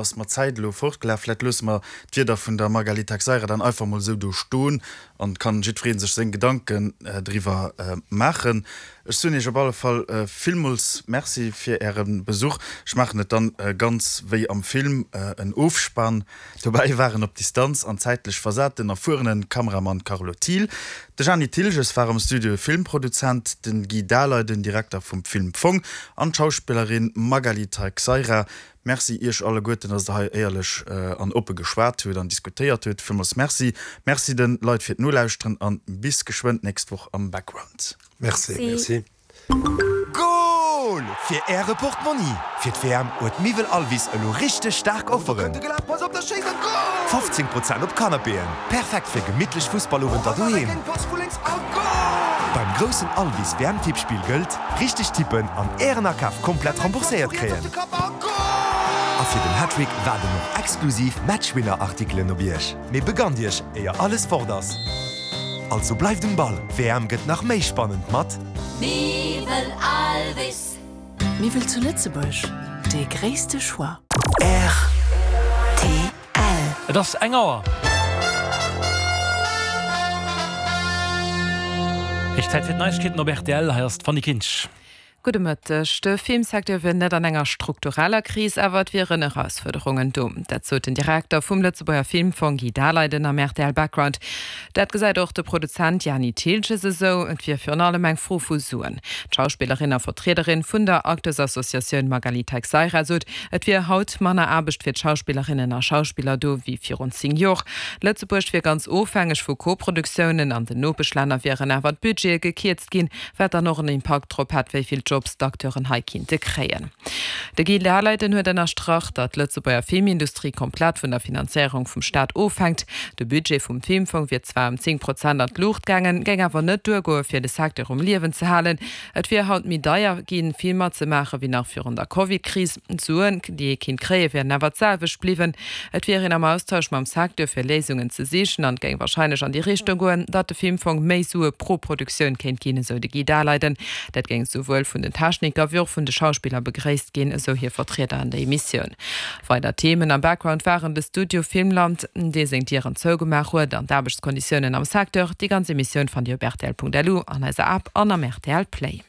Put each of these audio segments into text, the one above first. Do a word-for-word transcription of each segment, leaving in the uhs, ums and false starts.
Ass mer d'Zäit elo fortgelaf. Vläit loosse mer d'Wierder vun der Magali Taxeira dann einfach mol esou do stoen an kann jiddweree sech seng Gedanken driwwer maachen. Ech soen Iech op alle Fall villmools Merci fir Äre Besuch. Ech maachen et dann ganz wéi am Film, en Ofspann. Dobäi waren op Distanz an zäitlech versat den erfuerene Kameramann Carlo Thiel, de Jani Thilges war am Studio Filmproduzent, den Guy Dahler, den Direkter vum Filmfong an d'Schauspillerin Magali Taxeira. Merci Iech alleguerten, dass Der hei éierlech an oppe geschwat hutt an diskutéiert hutt. Villmools Merci. Merci de Leit fir d'Nolauschteren an bis geschwënn d'nächst Woch am Background. Merci. Merci. Goal fir Äre Portmonni! Fir d'WM huet Miwwel Alvis elo richteg staark Offeren! fofzéng Prozent op Canapéen, perfekt fir gemittlech Fussballowenter doheem! Beim groussen Alvis W M Tippspill gëllt, Richteg tippen an Ären Akaf komplett rembourséiert kréien! A fir den Hattrick waarden och exklusiv Matchwinner Artikelen op Iech! Mee begannt Iech, éier alles fort ass! Also bleift um Ball, d'W M gëtt nach méi spannend mat. Miwwel Alvis. Miwwel zu Lëtzebuerg, dee gréisste Choix. R T L. Et ass eng Auer. Héich Zäit fir d'Neiegkeeten op R T L. Hei ass d'Fanny Kinsch. Gudde Mëtteg. De Filmsecteur wier net an enger struktureller Kris, awer et wieren Erausfuerderungen do. Dat sot den Direkter vum Lëtzebuerger Filmfong Guy Daleiden am R T L Background. Dat gesäit och de Produzent Jani Thiltges esou, et wier virun allem eng Fro vu Suen. D'Schauspillerin a Vertriederin vun der Acteursassociatioun Magali Taxeira sot, et wier haut manner Aarbecht fir d'Schauspillerinnen a Schauspiller do wéi virun zéng Joer. Lëtzebuerg wier ganz ofhängeg vu Koproduktiounen, an den Nopeschlänner wieren awer d'Budgete gekierzt ginn, wat dann och en Impakt drop hätt, wéi vill Jobs d'Acteuren hei kinnte kréien. De Guy Daleiden huet ënnerstrach, datt d'Lëtzebuerger Filmindustrie komplett vun der Finanzéierung vum Staat ofhänkt. De Budget vum Filmfong wier zwar ëm zéng Prozent an d'Luucht gaangen, géing awer net duergoe fir de Secteur um Liewen ze halen. Et wier haut méi deier ginn, Filmer ze maache wéi nach virun der Covid-Kris. D'Suen, déi ee kinnt kréien, wieren awer d'selwecht bliwwen. Et wier een am Austausch mam Secteur fir Léisungen ze sichen an et géing warscheinlech an déi Richtung goen, datt de Filmfong méi Sue pro Produktioun kéint ginn, esou de Guy Daleiden. Dat géing souwuel vun den Techniker wéi och vun de Schauspiller begréisst ginn, esou hir Vertrieder an der Emissioun. Weider Themen am Background waren de Studio Filmland, dee seng Dieren zougemaach huet, an d'Aarbechtskonditiounen am Secteur. Déi ganz Emissioun fannt Dir op R T L Punkt L U, an eiser App an am R T L Play.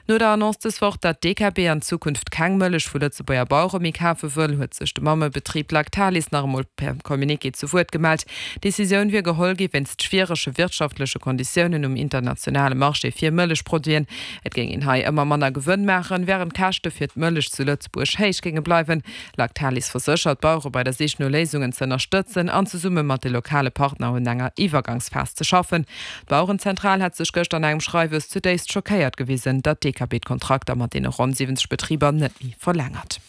No der Annonce dës Woch, datt d'D K B an Zukunft keng Mëllech vu Lëtzebuerger Bauere méi kafe wëll, huet sech de Mammebetrib Lactalis nach emol per Communiqué zu Wuert gemellt. D'Decisioun wier geholl gi wéinst schwierege wirtschaftleche Konditiounen um internationale Marché fir Mëllechproduiten. Et géing een hei ëmmer manner Gewënn maachen, wärend d'Käschte fir d'Mëllech zu Lëtzebuerg héich géinge bleiwen. Lactalis verséchert, d'Bauere bei der Sich no Léisungen ze ënnerstëtzen an zesumme mat de lokale Partner un enger Iwwergangsphas ze schaffen. D'Bauerenzentral hat sech gëschter an engem Schreiwes zudéifst schockéiert gewisen, datt d'D K B d'Kontrakter mat deene ronn siwwenzeg Betriber net méi verlängert.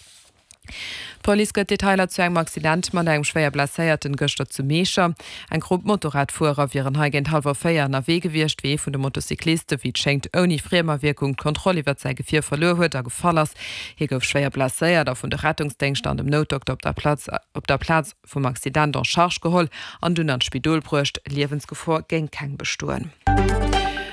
D'Police gëtt Detailer zu engem Accident mat engem schwéier Blesséierten gëschter zu Miecher. Eng Grupp Motorradfuerer wieren hei géint hallwer véier ënnerwee gewiescht, wéi ee vun de Motocycliste wéi et schéngt ouni Friemerwierkung d'Kontroll iwwert säi Gefier verluer huet a gefall ass. Hie gouf schwéier blesséiert a vun de Rettungsdéngschter an dem Noutdokter op der Platz op der Plaz vum Accident en charge geholl an dunn an d'Spidol bruecht. Liewensgefor géing keng bestoen.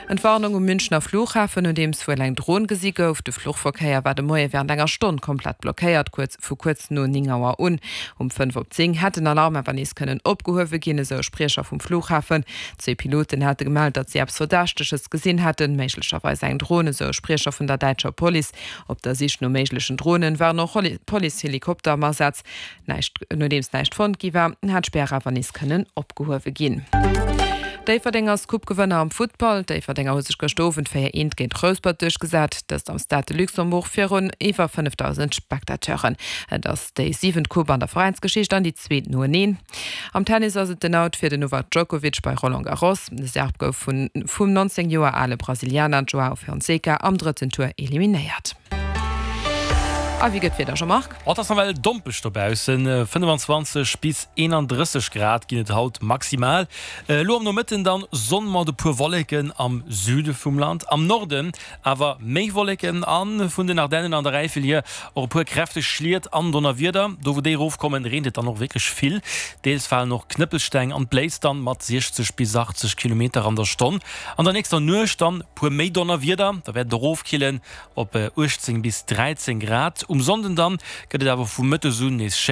Entwarnung um Münchner Flughafen, nodeems wuel eng Dron gesi gouf. De Fluchverkéier war de Moie wärend enger Stonn komplett blockéiert, kuerz vu kuerz no néng Auer un. Um fënnef op zéng hätt den Alarm awer nees kënnen opgehuewe ginn, esou e Spriecher vum Flughafen. Zwee Piloten hate gemellt, datt si eppes Verdächteges gesinn hätten, méiglecherweis eng Dron, esou e Spriecher vun der däitscher Police. Op der Sich no méiglechen Dronen waren och Policehelikopter am Asaz. Näischt, nodeems näischt fonnt gi war, hat d'Spär awer nees kënnen opgehuewe ginn. Déifferdeng ass Coupe-Gewënner am Futtball. D'Déifferdenger hu sech gëschter Owend véier eent géint Rouspert duerchgesat, dëst am Stade de Luxembourg virun iwwer fënnefdausend Spectateuren. Et ass déi siwent Coupe an der Veräinsgeschicht an déi zweet noeneen. Am Tennis ass et den Out fir den Novak Djokovic bei Roland Garros. De Serb gouf vun vum neunzéng Joer ale Brasilianer Joao Fonseca am drëtten Tour eliminéiert. A wéi gëtt d'Wieder, Jean-Marc? Et ass nawell dompeg dobaussen, fënnefenzwanzeg bis eenandrësseg Grad ginn et haut maximal. Elo am Nomëtten dann Sonn mat e puer Wolleken am Süde vum Land, am Norden awer méi Wolleken a vun den Ardennen an der Äifel hier och e puer kräfteg Schliet an Donnerwieder. Do wou déi erofkommen, reent et dann och wierklech vill, deels falen och Knëppelsteng an d'bléist dann mat siechzeg bis achtzeg Kilometer an der Stonn. An der nächster Nuecht dann e puer méi Donnerwieder, da wäert et erofkillen op uechtzéng bis dräizéng Grad. Um Sonnden dann gëtt et awer vu mëttes un nees schéin.